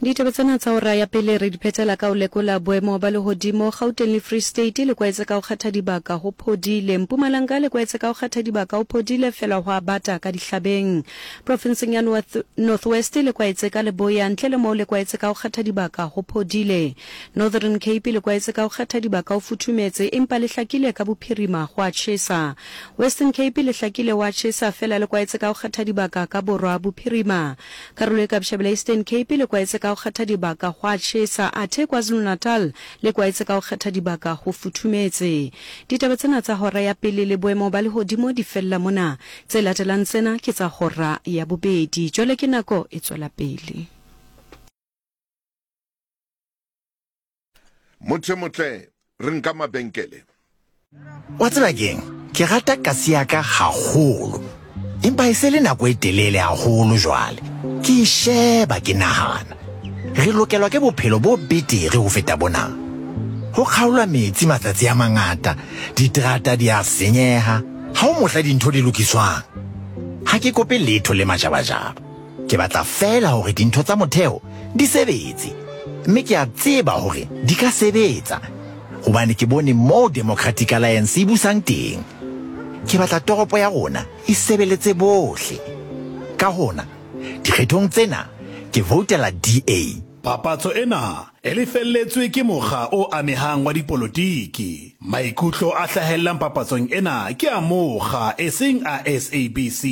Ditaba tsena tsa ora ya pele re di phethela ka ho lekola boemo ba lehodimo Gauteng le Free State le kwaetse ka ho kgetha dibaka ho phodile. Mpumalanga le kwaetse ka ho kgetha dibaka ho phodile fela hwa bata ka dihlabeng. Profenseng ya North, North West le kwaetse ka leboya ntle le moo le kwaetse ka ho kgetha dibaka ho phodile. Northern Cape le kwaetse ka ho kgetha dibaka ho futhumetse empa le hlakile ka bophirima gwa tjhesa. Western Cape le hlakile wa tjhesa fela le kwaetse ka ho kgetha dibaka ka borwa bophirima. Karolo e ka bohlabela Eastern Cape le kwaetse ka go kgetha dibaka gwa tjhesa, athe KwaZulu-Natal le kwaetse ka go kgetha dibaka go futhumetse. Ditaba tsena tsa hora ya pele le boemo ba lehodimo di fella mona. Tse latelang tsena ke tsa hora ya bobedi. Jwale ke nako e tswela pele. Motho e motle, re nka mabenkele. Wa tseba keng? Ke rata kasi ya ka haholo. Empa e se le nako e telele haholo jwale. Ke e sheba ke nahana. Re lokelwa ke bophelo bo betere ho feta bona. Ho kgaolwa metsi matsatsi a mangata, diterata di a senyeha, ha ho mohla dintho di lokiswang. Ha ke kope letho le majabajaba. Ke batla feela hore dintho tsa motheo di sebetse. Mme ke a tseba hore di ka sebetsa hobane ke bone moo Democratic Alliance e busang teng. Ke batla toropo ya rona e sebeletse bohle. Ka hona, dikgethong tsena ke voutela DA. Papatso ena e lefelletswe ke mokga o amehang wa dipolotiki. Maikutlo a hlahellang papatsong ena ke a mokga eseng a SABC.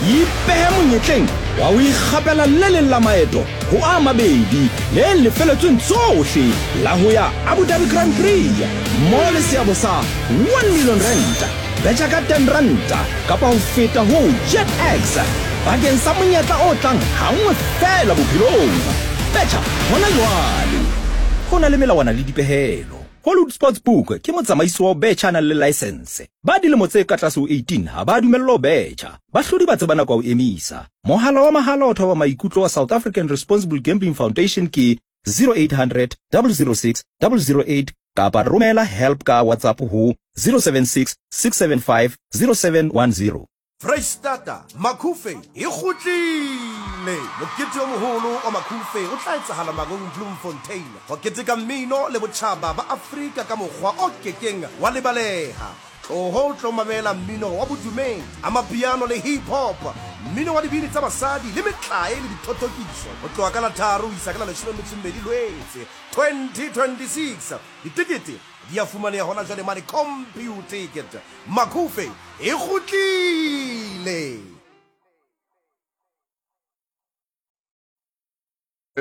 Ipehe monyetleng wa ho ikgapela le leng la maeto ho a mabedi le lefeletsweng tsohle la ho ya Abu Dhabi Grand Prix mmoho le seabo sa R1 million. Betjha ka R10 kapa ho feta ho JetX bakeng sa monyetla o tlang hanngwe feela bophelong. Betjha hona jwale! Ho na le melawana le dipehelo. Hollywood Sportsbook ke motsamaisi wa ho betjha a nang le laesense. Ba dilemo tse ka tlase ho 18 ha ba dumellwa ho betjha. Bahlodi ba tseba nako ya ho emisa. Mohala wa mahala wa thoba maikutlo wa South African Responsible Gambling Foundation ke 0800 006 008 kapa romela help ka WhatsApp ho 076 675 0710. Freistata, Makhufe e kgutlile! Mokete o moholo wa Makhufe o tla etsahala Mangaung Bloemfontein ho keteka mmino le botjhaba ba Afrika ka mokgwa o kekeng wa lebaleha. Tloho o tlo mamela mmino wa bodumedi, amapiano le hip hop, mmino wa dibini tsa basadi le metlae le dithothokiso ho tloha ka la tharo ho isa ka la 12 Lwetse 2026. Ditekete di a fumaneha hona jwale mane Computicket. Makhufe e kgutlile!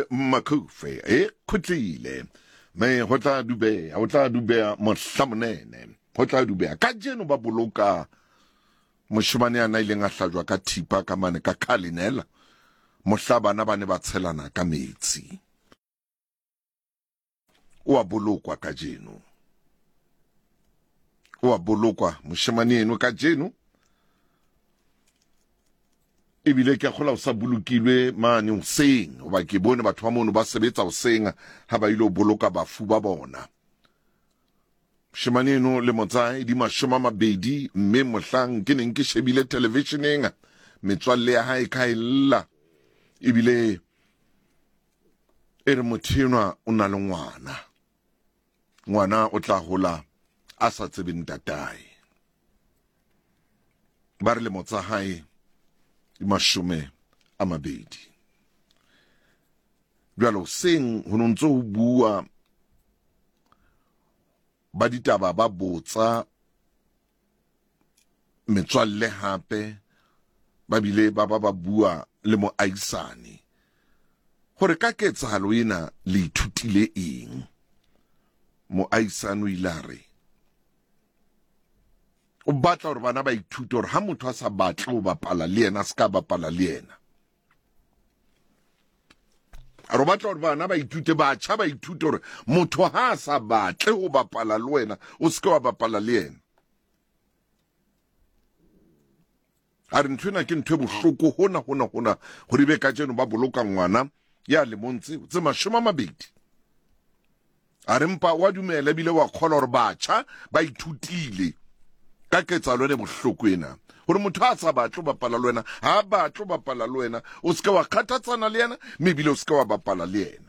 Makhufe e khutlile me ho tla dubeha, ho tla dubeha mohlamonene, ho tla dubeha. Kajeno ba boloka moshemane a na ileng a hlajwa ka thipa ka mane ka Cullinan mohla bana ba ne ba tshelana ka metsi. O a bolokwa kajeno. O a bolokwa moshemane eno kajeno. Ebile ke a kgola o sa bolokilwe mane hoseng, hoba ke bone batho ba mono ba sebetsa hoseng ha ba ile ho boloka bafu ba bona. Moshemane eno lemo tsa hae di 20, mme mohlang ke neng ke shebile televisheneng, metswalle ya hae ka e lla, ebile e re motho enwa o na le ngwana, ngwana o tla hola a sa tsebe ntatae. Ba re lemo tsa hae di 20. Jwale hoseng ho no ntse ho bua ba ditaba ba botsa metswalle hape ba bile ba ba ba bua le moahisani hore ka ketsahalo ena le ithutile eng. Moahisani o ile a re o batla hore bana ba ithute hore ha motho a sa batle ho bapala le yena, a se ka bapala le yena. A re o batla hore bana ba ithute, batjha ba ithute hore motho ha a sa batle ho bapala le wena, o se ke wa bapala le yena. A re ntho ena ke ntho e bohloko hona, hona, hona, hore ebe kajeno ba boloka ngwana ya lemong tseo tse 20. A re mpa wa dumela ebile wa kgolwa hore batjha ba ithutile ka ketsahalo ena e bohloko ena. Gore motho a sa batle go bapala le wena, ga a batle go bapala le wena. O se ke wa kgathatsana le yena, mme ebile o se ke wa bapala le yena.